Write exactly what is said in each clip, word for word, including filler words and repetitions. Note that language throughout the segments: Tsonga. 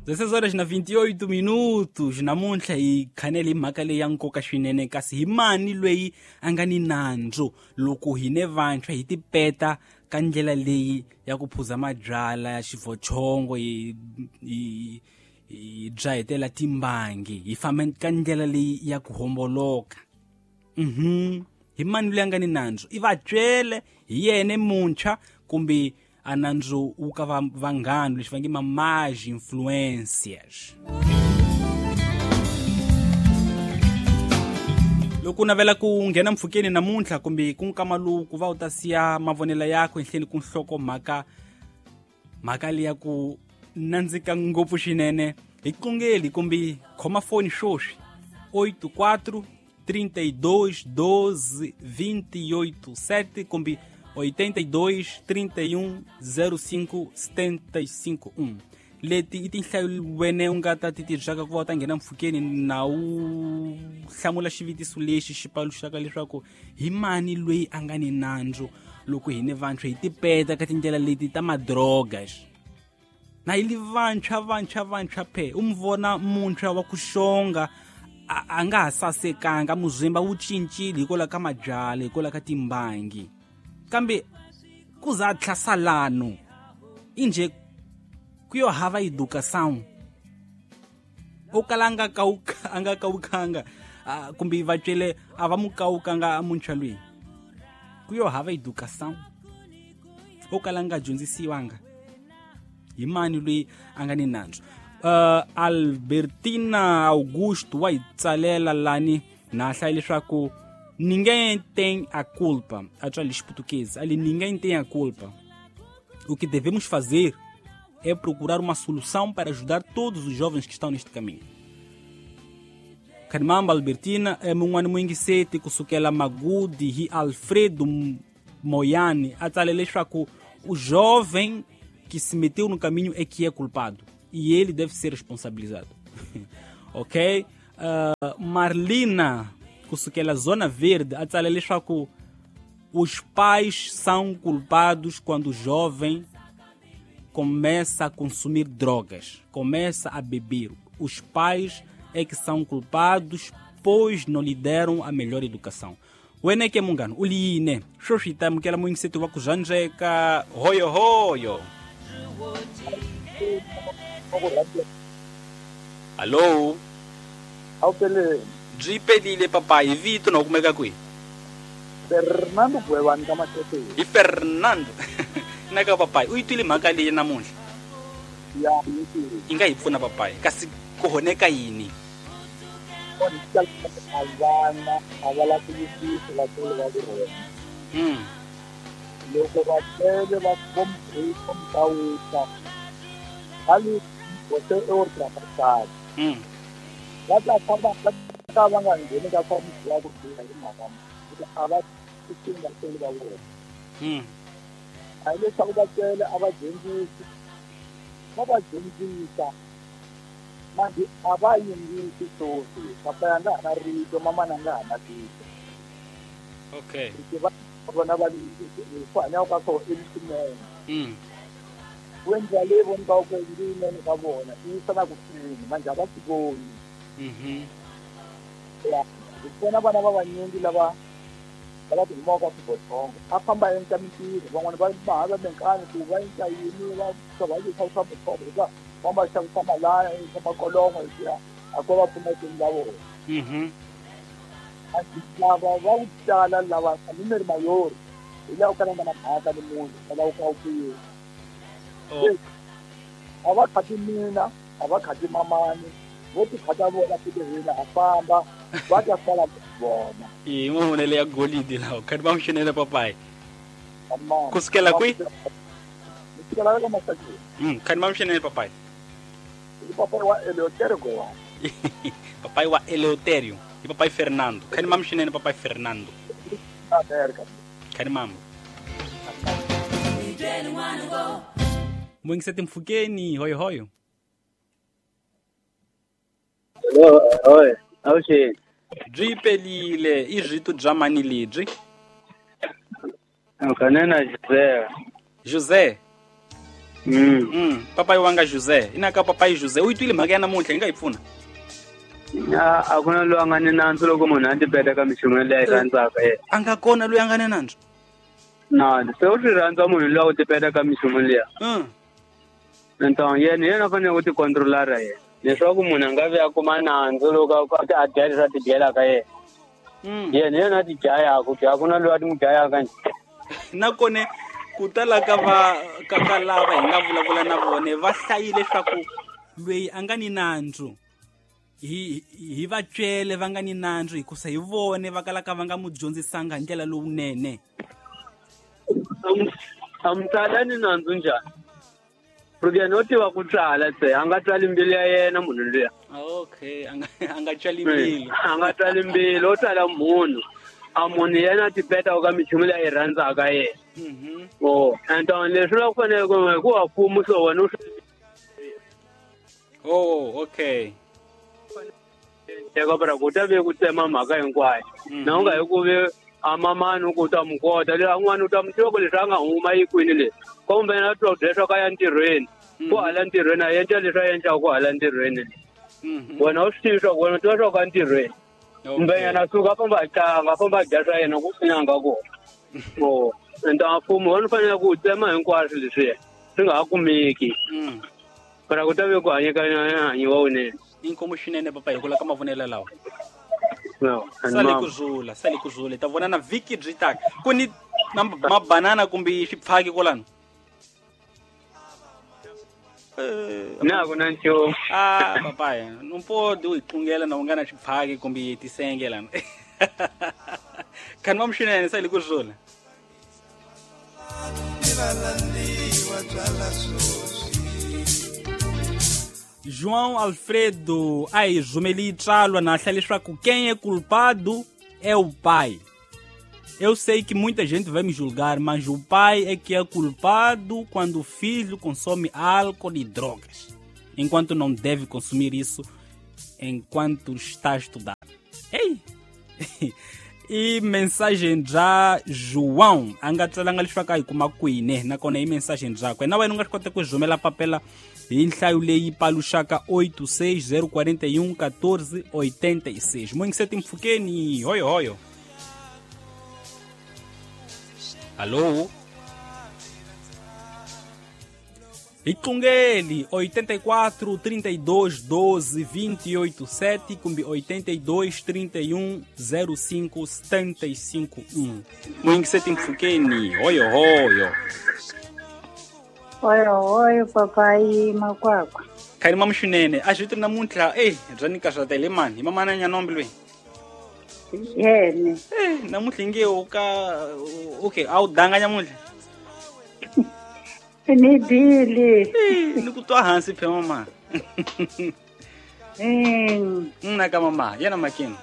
dezesseis horas na vinte e oito minutos namuntlha hi khanele hi mhaka leyi ya nkoka swinene kasi hi mani loyi a nga ni nandzu loko hine vantshwa hi tipeta ka ndlela leyi ya ku phuza mabyala ya xivochongo hi hi hi dzahetela timbangi hi famba ka ndlela leyi ya ku homboloka. Mhm hi mani loyi a nga ni nandzu i vatswele hi yene muntshwa kumbe a nandzu wu ka vanghana leswi va nge ma-más influências. Loko u navela ku nghena mpfhukeni namuntlha kumbe ku nkama lowu ku va u ta siya mavonelo yakho ehenhleni ku nhloko mhaka mhaka leyi ya ku nandzika ngopfu swinene hi qungeli kumbe khoma foni swoswi oito quatro trinta e dois doze vinte e oito sete kumbe oitenta e dois trinta e um zero cinco setenta e cinco um. Leti i tinhlayo wene u nga ta ti tirhisaka ku va u ta nghena mpfhukeni na u hlamula xivutiso lexi xi paluxaka leswaku hi mani loyi a nga ni nandzu loko hine vantshwa hi tipeta ka tindlela leti ta madrogas. Na hi li vantshwa vantshwa vantshwa phe u mi vona muntshwa wa ku xonga a nga ha sasekanga muzimba wu cincile hikwalaho ka mabyala hikwalaho ka timbangi kambe ku za tlhasalano inje ku yo hava educação o kala nga kauka anga kaukanga kumbe vatswele a va mu kaukanga muntshwa loyi ku yo hava educação o kala nga dyondzisiwanga hi mani loyi a nga ni nandzu. Uh, Albertina Augusto wa hi tsalela lani na hlaya leswaku ninguém tem a culpa. A tswala xiputukezi ali ninguém tem a culpa. O que devemos fazer é procurar uma solução para ajudar todos os jovens que estão neste caminho. Karimamba Albertina é mun'wana muyingiseti kusukela Magudi hi Alfredo Moyani a tsale leswaku o jovem que se meteu no caminho é que é culpado e ele deve ser responsabilizado. Ok? Uh, Marlina kusukela Zona Verde a tsale leswaku os pais são culpados quando o jovem começa a consumir drogas, começa a beber. Os pais é que são culpados, pois não lhe deram a melhor educação. Wena ke mungano, uliyine, xoxita mukela muyingiseti wa ku zvandzeka, hoyo hoyo. Alô? Awupeleni. Byi pelile papayi, vito na u kumeka kwihi? Fernando Gwewani ka Masheteni. Hi Fernando. Naka papayi, u yi twile mhaka leyi namuntlha? Ya, yi twile. Yi nga hi pfuna papayi, kasi ku honeka yini? A vana a va la ku yingisa vatswari va vona. Mm. Loko vatswari va vo mukawuka va li você é ultrapassado. Mm. Va ta famba va ta va nga ngheni ka swa ya ku biha hi mhaka a va tixini vatswari va vona. Mm. A hi leswaku vatswari a va dyondzisi, va va dyondzisa manje a va yingisi swoswi. Papa ya nga ha na rito, mamana a nga ha na rito. Okay. Va vona va ku hanya ka swona i swinene. Mm. Ku endla leyi vonaka ku i yinene ka vona i yisa na ku fini manje a va swi voni. Mhm. Ya, hi vona vana va vanyingi lava lava ti humaka swibotsongo a famba a endla mintirho, van'wana va va hava minkani ku va endla yini va va yisa swa muthoko hikuva va va xavisa malaya swa makolongo leswiya a ko va pfuna vutomi bya vona. Mhm. Lava va ku tala lava a ni ri mayori hi laha u kalaka na mhaka ni munhu va lava ku ka u kuyini. A va khati mina, a va khati mamani, vo ti khata vona fike hina a famba va ta sala vona. I mavonelo ya golidi lawa khati va n'wi papayi. Kusukela kwihi? Kusukela ka Masakeni. Mm, khati va n'wi papayi. I papayi wa Eleuterio Gowani. Papayi wa Eleuterio. I papai Fernando. Khani mam xinene papai Fernando. America. Khani mam. Muyingiseti mpfhukeni hoyo hoyo. Hello, hoy. Awuxeni. Byi pelile i rito bya mani lebyi? Kanena José. José. Mm. Mm, papai wanga José. Ina ka papai José. U yi twile mhaka ya namuntlha yi nga yi pfuna? A a ku na loyi a nga ni nandzu loko munhu a tipeta ka minchumu leyi a yi rhandzaka yena. A nga kona loyi a nga ni nandzu? Na, se u swi rhandza munhu loyi a ku tipeta ka minchumu liya. Mm. Então yena yena a fanele ku tikontrolara yena. Leswaku munhu a nga vi a kuma nandzu loko a a dya leswi a ti dyelaka yena. Mm. Yena yena a ti dlayaka, a ku na loyi a ti n'wi dlayaka njhe. Nakona ku tala ka va ka ka lava hi nga vulavula na vona va hlayile leswaku loyi a nga ni nandzu hi hi va cele va nga ni nandzu hikusa hi vone va kalaka va nga mu dyondzisanga hi ndlela lowunene. A mutswari a ni nandzu njhani? Porque yena u tiva ku tsala se a nga tsali mbilu ya yena munhu luya. Okay, a nga a nga tsali mbilu. A nga tsali mbilu, u tsala munhu. A munhu yena a tipeta ka minchumu leyi a yi rhandzaka yena. Mhm. Oh, então leswi la ku fanele ku hikuva mfumo so wena u swi Oh, okay. Teka bara ku ta ve ku tsema mhaka hinkwayo. Na u nga hi ku ve a mamani ku ta mu kota leyi un'wana u ta mu tiva ku leswi a nga huma yi kwini le. Kumbe na twa leswi ka ya ntirhweni. Ku hala ntirhweni a endla leswi a endlaka ku hala ntirhweni. Wena u swi tivi swa ku wena u tiva swa ku ntirhweni. Kumbe yena a suka a famba a tlanga, a famba a dya swa yena ku swi nga kona. Oh, então mfumo wona u fanele ku tsema hinkwaswo leswiya swi nga ha kumeki. Para ku ta ve ku hanyeka hanyiwa wunene. Inkomu swinene papa hi kula ka mavonelo lawa. No, sale ku zula, sale ku zula. Ta vona na vhiki byi taka. Ku ni mabanana kumbe swipfaki kwalano? Na ku na nchumu. Ah, papai, não pode u xungela na u nga na swipfaki kumbe tisenge lana. Kani mamxinene sale ku zula. João Alfredo, ai, Jumeli tsalwa na hla leswaku quem é culpado é o pai. Eu sei que muita gente vai me julgar, mas o pai é que é culpado quando o filho consome álcool e drogas, enquanto não deve consumir isso enquanto está a estudar. Ei! E mensagem já João, a nga tsalanga leswaku a yi kuma kwini, nakona i mensagem byakwe. Na wena u nga swi kota ku rhumela papela hi nhlayo leyi paluxaka oito seis zero quatro um um quatro oito seis. Moingiseti mpfhukeni, hoyo hoyo. Alô? Icungeli oitenta e quatro, trinta e dois, doze, vinte e oito, sete, kumbe oitenta e dois, trinta e um, zero cinco, setenta e cinco, um. Moingiseti mpfhukeni, hoyo hoyo. Oyo oyo papai makwakwa. Khani mamuxinene, a xi namuntlha, eh, bya ni karhatele mani, hi mamana nyanombe loyi. Yene. Eh, namuntlha inge u ka okay, a wu danga nyamuntlha. Ni dile. Eh, ni ku twa hansi phe mama. Eh, nna ka mama, yena makeni.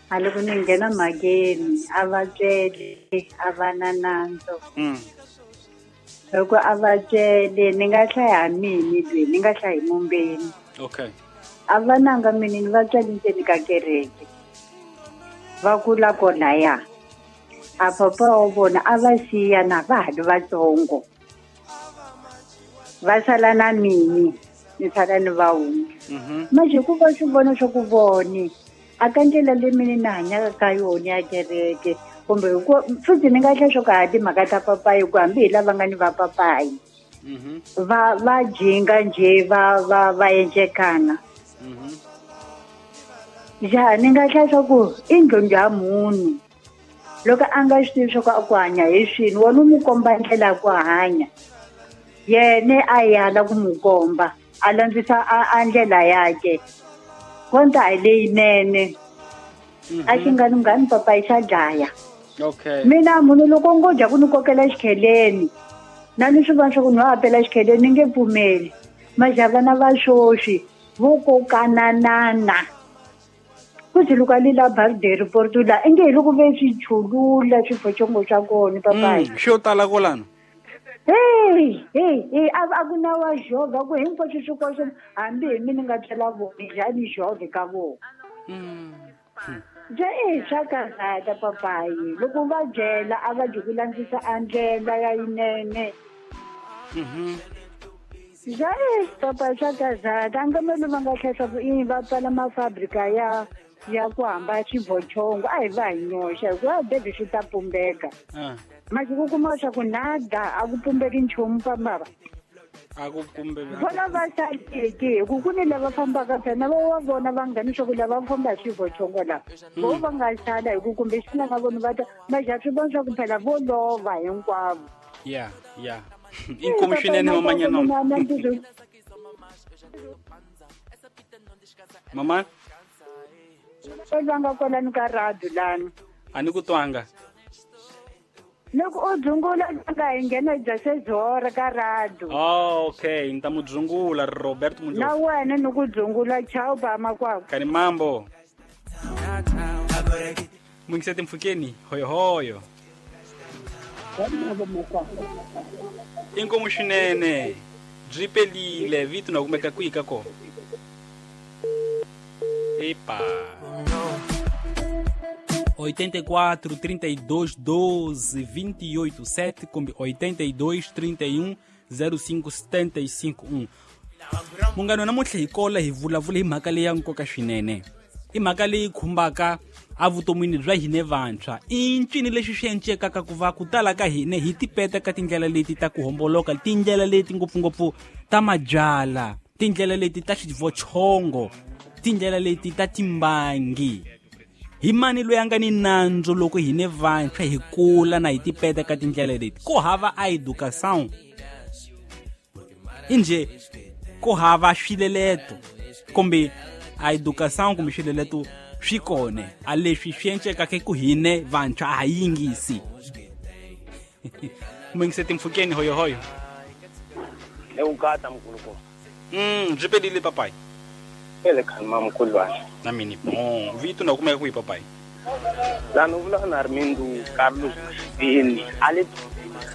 A loko ni nghena mhakeni, a va cele, a va na nandzu. Mm. Loko a va cele, ni nga hlaya mini lwe, ni nga hlayi mumbeni. Okay. A va nanga mini ni va tswali ndzeni ka kereke. Va kula kona ya. A papa wa vona a va siya na va ha ri vatsongo. Va sala na mini, ni sala ni va wun'we. Mhm. Manje ku va swi vona swa ku voni, a ka ndlela leyi mina ni hanyaka ka yona ya kereke, kumbe futhi ni nga hlaya swo ka ha timhaka ta papayi ku hambi hi lava nga ni va papayi. Mhm. Va va jinga nje va va va endlekana. Mhm. Ja ni nga hlaya swa ku i ndlondlo ya munhu. Loko a nga swi tivi swa ku a ku hanya hi swini, wena u n'wi komba ndlela ya ku hanya. Yena a yala ku n'wi komba, a landzisa a, a ndlela yakhe. Konta hi leyinene. A xi nga lunghani papayi xa dlaya. Okay. Mina munhu loko ngo dya ku ni kokela xikheleni, na ni swi vona swa ku ni wa pela xikheleni ni nge pfumeli. Maja vana va swoswi vo kokananana. Ku loko a lila birthday report la inge hi loko ve swi chulula swiphochongo swa kona papayi. Mm, xo tala kwalano. Hey, hey, hey, a a ku na wa jova ku hinkwaswo swi koxe hambi hi mina ni nga byela vona njhani jove ka vona. Mm. Ja e swa karhata papayi loko va byela a va dyi ku landzisa a ndlela ya yinene. Mhm. Zai papa swa za tangamelo va nga tlhela ku i va pfala mafabrika ya ya ku hamba xivochongo a hi va hi nyoxa hikuva bebi swi ta pumbeka. Masiku ku kuma swa ku nada a ku pumbeki nchumu pambava. A ku pumbeki. Vona va saleki hi ku ku ni lava fambaka phela va va vona vanghani swa ku lava famba hi xivochongo lava. Vo va nga sala hi ku kumbe xana nga voni va ta maja swi vona swa ku phela vo lova hinkwavo. Yeah, yeah. Inkomo swinene mamanyana. Mama? Vanga kwalani ka radio lani. A ni ku twanga. Loko u dzungula nga hi nghena bya sezora ka radio. Oh, okay, ni ta mu dzungula Roberto Mundlo. Na wena ni ku dzungula chao ba makwako. Kani mambo. Mungisete mfukeni hoyo hoyo. Inkomo swinene byi pelile vito na kumeka kwihi ka kona. Epa. oitenta e quatro, trinta e dois, doze, vinte e oito, sete com oitenta e dois, trinta e um, zero cinco, setenta e cinco, um. Munghana namuntlha hi kola hi vulavula hi mhaka leyi ya nkoka swinene. I mhaka leyi khumbaka evuton'wini bya hina vantshwa. I ncini lexi swi encekaka ku va ku tala ka hina hi tipeta ka tindlela leti ta ku homboloka, tindlela leti ngopfungopfu ta mabyala, tindlela leti ta xivochongo, tindlela leti ta timbangi. Hi mani loyi a nga ni nandzu loko hina vantshwa hi kula na hi tipeta ka tindlela leti? Ku hava a educação. Inje ku hava swileleto kumbe a educação kumbe swileleto swi kona a leswi swi encekaka ku hine vantshwa a ha yingisi. Mungisete mfukeni hoyo hoyo. Lewukata mkhuluko. Mm, byi pelile papai. Ele khalma mkhulwana. Na mini bon, vito na kumeka kwihi papai? Lano vula na Armindo Carlos Vini, ale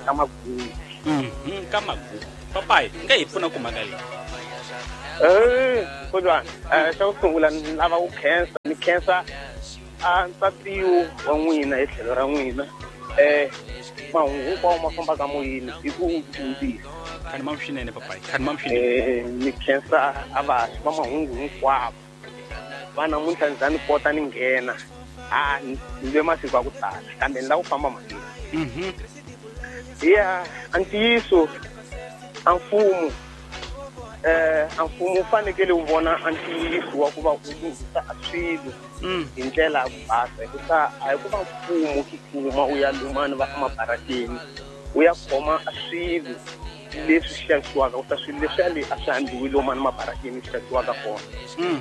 ka Magugu. Mm, ka Magugu. Papai, nga hi pfuna ku mhaka leyi. Eh, mkhulwana, eh xa ku sungula ni lava ku khensa, ni khensa a ntsatiyo wa n'wina hi tlhelo ra n'wina. Eh, mahungu hinkwawo ma fambaka moyeni hi ku dyondzisa. Khani mam swinene papai, khani mam swinene. Eh, ni khensa a vahaxi va mahungu hinkwavo. Va namuntlha ni za ni kota ni nghena. A ni lwe masiku ya ku tala kambe ni lava ku famba mahlweni. Mhm. Ya, a ntiyiso a mfumo eh a mfumo wu fanekele wu vona a ntiyiso wa ku va wu lunghisa a swilo hi ndlela ya ku basa, hikuva a hi ku va mfumo wu tsutsuma wu ya lumani va emabarakeni wu ya khoma a swilo leswi swi xavisiwaka, ku ta swilo leswiya le a swi handziwi lomani mabarakeni swi xavisiwaka kona.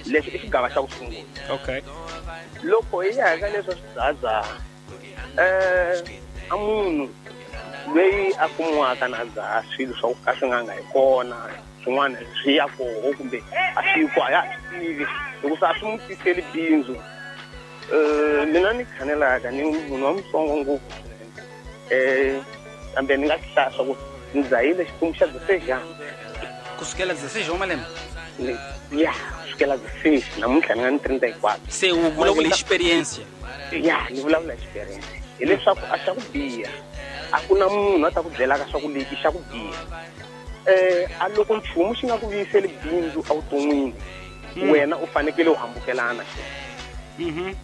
Lexi i xigava xa ku sungula. Okay. Loko hi ya ka leswi swidzahadzaha, eh a munhu loyi a kumiwaka na dzaha swilo swa ku ka swi nga nga hi kona, swin'wana swi ya koho kumbe a swi ko a ya ha swi tivi hikuva a swi n'wi tiseli bindzu. Eh mina ni khanelaka ni munhu wa mutsongo ngopfu swinene, eh kambe ni nga swi hlaya swa ku ni dzahile xiphemu xa dezeseixe. Kusukela dezesseis wa malembe? Ya, kusukela dezesseis namuntlha ni nga ni trinta e quatro. Se u vulavula experience? Ya, ni vulavula experience. Hileswaku a xa ku biha a ku na munhu a ta ku byelaka swa ku lexi xa ku biha. Eh a loko nchumu xi nga ku vuyiseli bindzu evuton'wini, wena u fanekele u hambukelana xona. Mhm.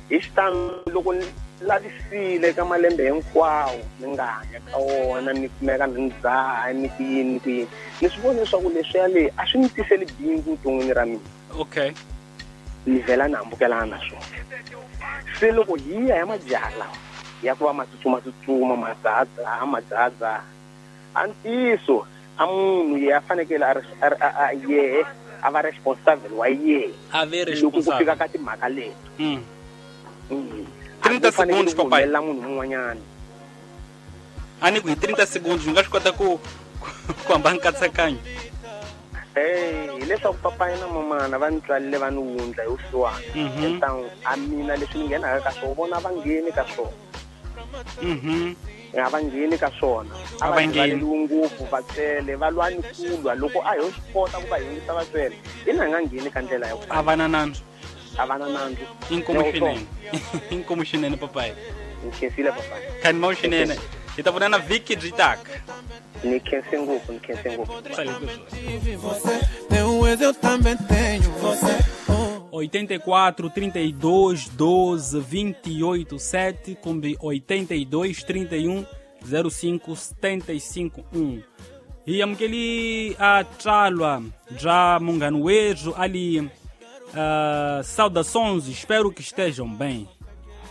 Hi xitalo loko ni lavisile ka malembe hinkwawo ni nga hanya ka wona ni kumeka ni dzaha ni ku yini ni ku yini, ni swi vona leswaku leswiya le a swi ni tiseli bindzu vuton'wini ra mina. Okay. Ni vhela ni hambukelana na swona. Se loko hi ya ya majaha lawa ya ku va ma tsutsuma tsutsuma ma dzahadzaha ma dzahadzaha, a ntiyiso a munhu ye a fanekele a a yehe a va responsible wa yehe a ve loko ku responsible fika ka timhaka leto. Mm. Mm. trinta segundos papai. La munhu un'wanyana. A ni ku hi trinta segundos u nga swi kota ku ku hamba nkatsakanyo. Eh, hileswaku papai na mamana va ni tswalile va ni wundla hi vusiwana. Entangu a mina leswi ni nghenaka ka swona vona va ngheni ka swona. Mhm. A va ngheni ka swona. A va ngheni ngopfu vatswele va lwa ni ku lwa loko a ho swi kota ku va yingisa vatswele ina hi nga ngheni ka ndlela ya ku a va na nandzu. A va na nandzu. Inkomo swinene. Inkomo swinene papai. Nkhensile papai. Khani mawu swinene. Hi ta vonana vhiki byi taka. Ni khense ngopfu, ni khense ngopfu. oitenta e quatro, trinta e dois, doze, vinte e oito, sete, kumbe oitenta e dois, trinta e um, zero cinco, setenta e cinco, um. Hi amukeli a tsalwa bya munghana wethu ali uh, saudações, espero que estejam bem.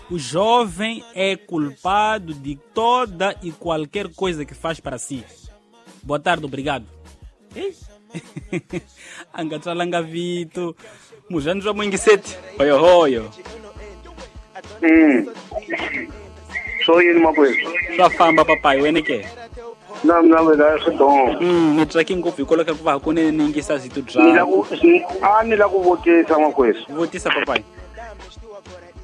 O jovem é culpado de toda e qualquer coisa que faz para si. Boa tarde, obrigado. Anga tsalanga vito muzhanzi wa mwingiseti hoyo hoyo. Mm. So yini makwethu? Swa famba papai wena ke? Na mina wena swi dong. Mm, ni tsaki ngopfu hikwalaho ka ku va hakunene ni yingisa zito bya. Ni la ku a ni la ku vutisa makwethu. Vutisa papai.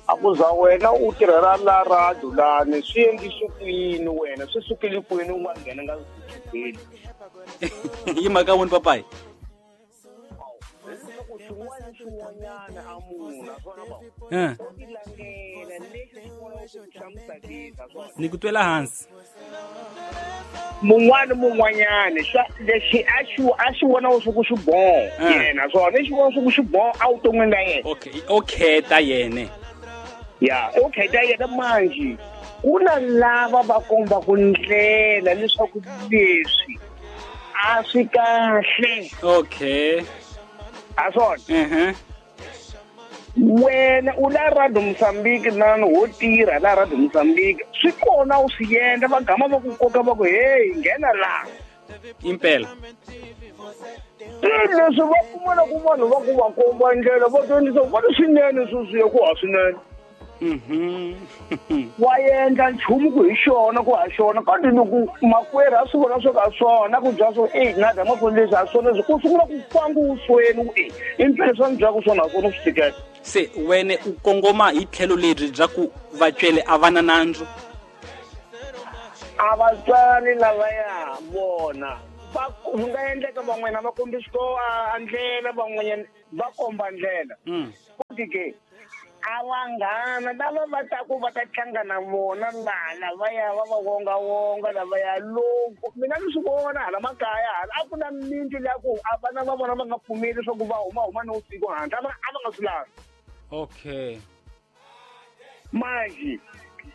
A ku za wena u tirhela la radio lani swi endlise ku yini wena swi sukile kwini u nga nghena nga swi Yi mhaka wini papai? Eh. Ni ku twela hansi. Mun'wana mun'wanyana xa lexi a xi a xi vona swa ku swi boho yena swona lexi vona swa ku swi boho a vuton'wini la yena. Okay, o kheta yena. Ya, o kheta yena manjhe. Ku na lava va kombaku ndlela leswaku leswi a swi kahle. Okay. A swona. Mhm. Wena u la Radio Mozambique nani ho tirha la Radio Mozambique swi kona u swi endla va gama va ku koka va ku hey nghena la. Impela. Leswi va kumana ku vanhu va ku va komba ndlela va dyondzisa va swinene sweswi ya ku ha swinene. Mhm. Wa endla nchumu ku hi xona ku ha xona kambe loko makwerhu a swi vona swo ka swona ku bya swo eh na dama ku leswi a swona ku sungula ku fanga usweni ku eh impela swa ndzaku swona swona swi tikela. Se wena u kongoma hi tlhelo leri bya ku vatswele a va na nandzu? A vatswari lavaya vona va ku nga endleka van'wana va kombisa ko a ndlela van'wanyana va komba ndlela. Futhi ke a vanghana lava va taku va ta tlanga na vona laha lavaya va va wongawonga lavaya loko mina ni swi vona hala makaya hala a ku na mintli leya ku a vana va vona va nga pfumeli leswaku va huma huma nivusiku handle a va a va nga swi lavi. Okay. Manjhe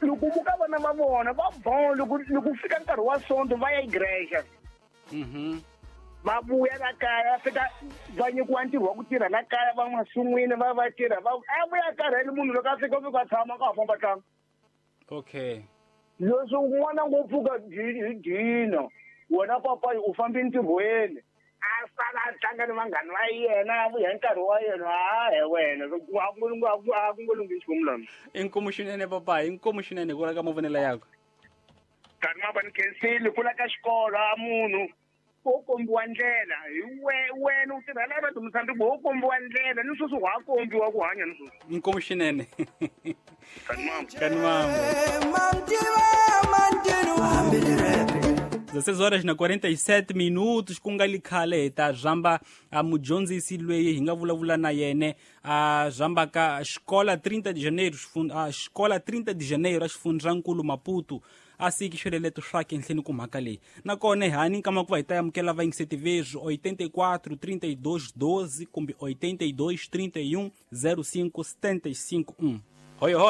loko ku ka vana va vona va bon loko loko fika nkarhi wa sonto va ya igreja. Mhm. Va vuya la kaya fika va nyikiwa ntirho wa ku tirha la kaya va masin'wini va va tirha va a vuya karhele munhu loko a fika u fika tshama ka ha famba tlanga. Okay. Leswi n'wana ngopfu ka hi dina wena papayi u fambi ntirhweni a sala a tlanga ni vanghani va yena a vuya hi nkarhi wa yena hayi wena a ku a ku ngo lunghi nchumu lana. Inkomu xinene papayi, inkomu xinene ku la ka mavonelo yakwe. Kanti ma va ni khensile ku la ka xikolo a munhu wo kombiwa ndlela hi wena u tirhela Radio Mozambique wo kombiwa ndlela ni sweswi wa kombiwa ku hanya ni sweswi. Inkomu xinene. Kanimambo. dezesseis horas na quarenta e sete minutos ku nga li khale hi ta zamba a mudyondzisi loyi hi nga vulavula na yena a zamba ka xikola trinta de janeiro a xikola trinta de janeiro a xifundzankulu Maputo a siki xireleto swa kenhleni ku mhaka leyi nakona hani nkama ku va hi ta amukela vayingiseti vezwi oitenta e quatro, trinta e dois, doze kumbe oitenta e dois, trinta e um, zero cinco, setenta e cinco, um. Hoyo hoyo.